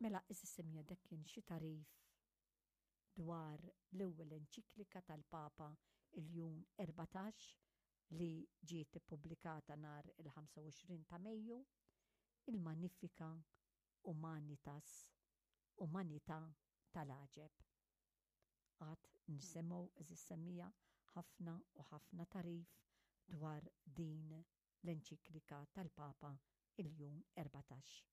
Mela, għeżież semmiegħa dak kien xi tagħrif dwar l-ewwel enċiklika tal-Papa Iljun 14 li ġiet ippubblikata nhar il-25 ta' Mejju, il-Magnifica Humanitas, Umanità tal-Għaġeb. Għad nisimgħu, għeżież semmiegħa, ħafna u ħafna tagħrif dwar din l-enċiklika tal-Papa Iljun 14.